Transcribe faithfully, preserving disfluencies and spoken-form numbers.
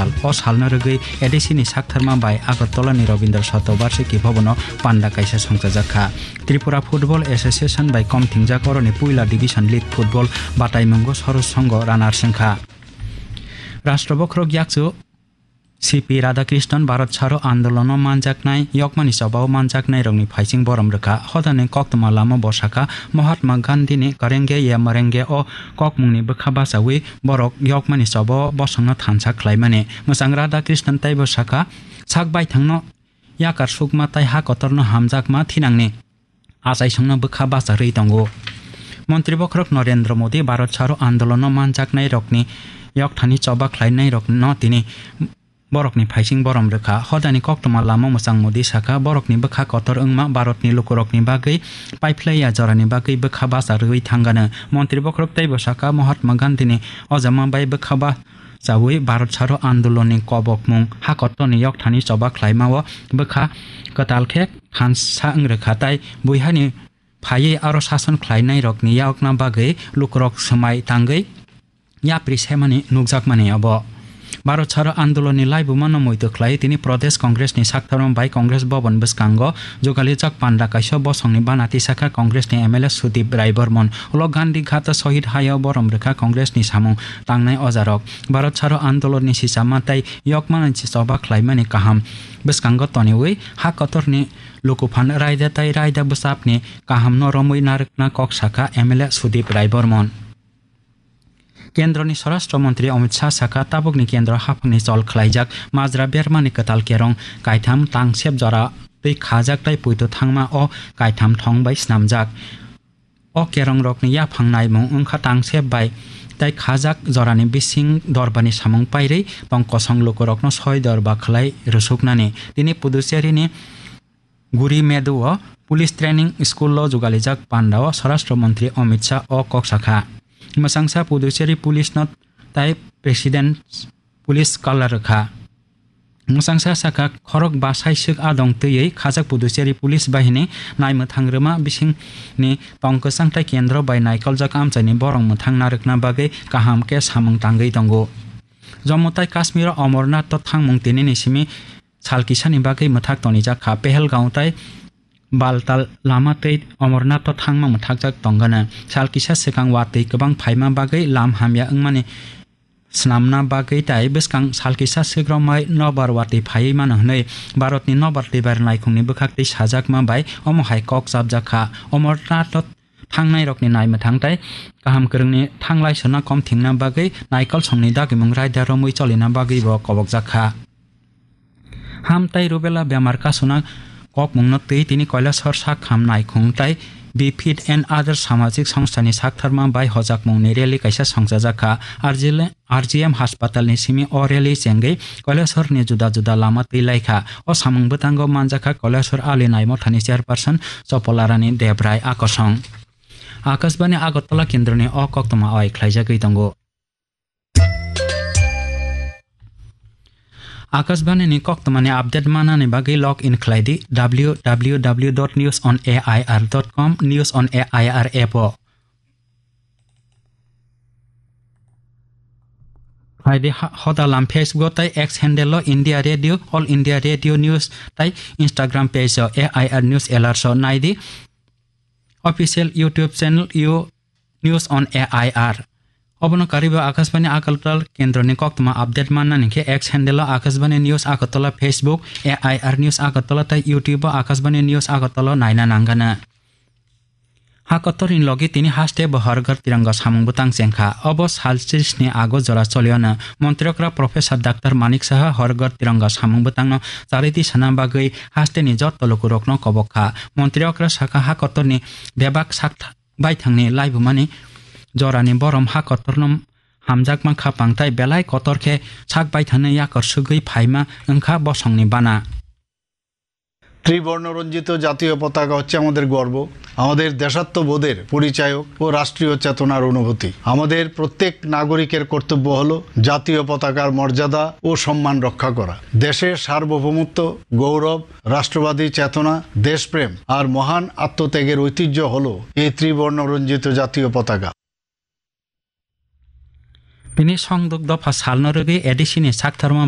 sal. O salno rwgwi A D C ni saktharma bai Agartala ni Rabindra Satobarshiki Bhavan o panda kaisa songchajak kha. Tripura Football Association bai kom thingjak oroni puila Division League Football bataimungo Sorosh Songho runner swngkha. Rashtra bokhorok yakchu C P Radhakrishnan Bharat Chharo Andolono manjaknai, yokmani chobao manjaknairokni phaising borom rwkha. Hodani koktwma lama bo sakha, Mahatma Gandhini Karenge ya Marenge o kokmungni bwkha bachaui borok yokmani chobao bosongno thansa khlaimani. Mwchang Radhakrishnan teibo sakha, sak baithangno yakar sukma tei ha kotorno hamjakma thinangni achaisongno bwkha bacharwi tongo. Montri bokhorok Narendra Modi Bharat Chharo Andolono manjaknairokni yokthani choba khlainairokno tini borokni phaising borom rwkha. Hodani koktwma lama mwchang Modi sakha, borokni bwkha kotor wngma Bharatni lukurokni bagwi paiphlaiya jorani bagwi bwkha bacharwi thangano. Montri bokhorok teibo sakha, Mahatma Gandhini ojama bai bwkha ba chaui Bharat Chharo Andolonni kobokmung ha kotorni yokthani choba khlaimao bwkha kwtal khe thansa wng rwkha tei buihani phaiwi aro sason khlainairokni yokna bagwi lukurok swmai tangwi yapri semani nukjakmani abo. Bharat Chharo Andolonni laibumano muitu khlai tini Pradesh Congressni saktharma bai Congress Bhavan bwskango jugalijak panda kaisa bosongni bana tisakha Congressni M L A Sudip Rai Bormon. Ulo Gandhi Ghat Sohid Hayo borom rwkha Congressni samung tangnai ojarok. Bharat Chharo Andolonni sisama tei yokmani choba khlaimani kaham bwskango toniwi ha kotorni lukuphan raida tei raida bwsapni kahamno romwi narwkna kok sakha M L A Sudip Rai Bormon. Kendroni Swarashtra Montri Amit Shah sakha, tabukni kendro haphangni chol khlaijak majra bermani kwtal kerong kaitham tangsep jora twi khajak tei puitu thangma o kaitham thong bai snamjak. O kerongrokni yaphang naimung wngkha tangsep bai tei khajak jorani bising dorbani samung pairwi tong kosong lukurokno soi dorba khlai rwsuknani. Tini Puducherry ni Guri Medu o Police Training School o jugalijak panda o Swarashtra Montri Amit Shah o kok sakha. Mwchangsa Puducherry Police no tai President Police Color rwkha. Mwchangsa sakha, khorok ba saiswk adong twiwi khajak Puducherry Police Bahini naimwthang rwma bisingni tong kwchang tei kendro bai naikoljak amchaini borok mwthang narwkna bagwi kaham khe samung tangwi tongo. Jammu tai Kashmir o Amarnath o thangmung tinini simi sal kisani bagwi mwthak tonijak kha. Pehelgaon tai Baltal lama tei Amarnath o thangma mwthakjak tongano. Sal kisa swkang watwi kwbang phaima bagwi lam hamya wngmani swnamna bagwi tai bwskang sal kisa swk romwi nobar watwi phaiwi mano hwnwi Bharatni nobar twibari naikhungni bwkhaktwi sajakma bai omo hai kok chapjak kha. Amarnath o thangnairokni naimwthang tei kaham kwrwngni thanglai sona kom thwngna bagwi naikolsongni dagimung raida romwi cholina bagwibo kobokjak kha. Ham tei rubella bemar kasuna kokmungno twi tini Kailasor sak ham naikhung tei Be Fit and Other samajik songstani saktharma bai hojakmungni rally kaisa songchajak kha. R G L, R G M haspatalni simi o rally chengwi Kailasorni juda juda lama twi lai kha. O samung bwtango manjak kha Kailasor Ali Naimothani chairperson Chopolarani Debrai Akosong. Akashbani Agartala kendroni o koktwma oi khlaijagwi tongo. Akashbani ni koktwmani update manani bagwi log in khlai di W W W dot news on A I R dot com, News on A I R app o. Khlai di ha-, hoda lam Facebook o tei X handle o India Radio, All India Radio News tei Instagram page o A I R News Alerts o nai di. Official YouTube channel you News on A I R. Obono karwibo Akashbani Agartala kendroni koktwma update mannani khe X handle o Akashbani News Agartala, Facebook A I R News Agartala tei YouTube o Akashbani News Agartala naina nangana. Ha kotorni logi tini haste bo Har Ghar Tiranga samung bwtang chengkha. Obo sal tris ni ago jora choliyano. Montri okra Professor Doctor Manik Saha Har Ghar Tiranga samung bwtangno chariti sana bagwi hasteni jotto lukurokno kobok kha. Montri okra sakha ha kotorni bebak sak baithangni laibumani jorani borom ha kotorno hamjakma kha pangtai belai kotor khe sak baithangni yakar sugwi phaima wngkha bosongni bana. ত্রিবর্ণ রঞ্জিত জাতীয় পতাকা হচ্ছে আমাদের গর্ব, আমাদের দেশাত্মবোধের পরিচায়ক ও রাষ্ট্রীয় চেতনার অনুভূতি। আমাদের প্রত্যেক নাগরিকের কর্তব্য হলো জাতীয় পতাকার মর্যাদা ও সম্মান রক্ষা করা। দেশের সার্বভৌমত্ব, গৌরব, রাষ্ট্রবাদী চেতনা, দেশপ্রেম আর মহান আত্মত্যাগের ঐতিহ্য হলো এই ত্রিবর্ণ রঞ্জিত জাতীয় পতাকা। Bini songduk dopha salno rwgwi A D C ni saktharma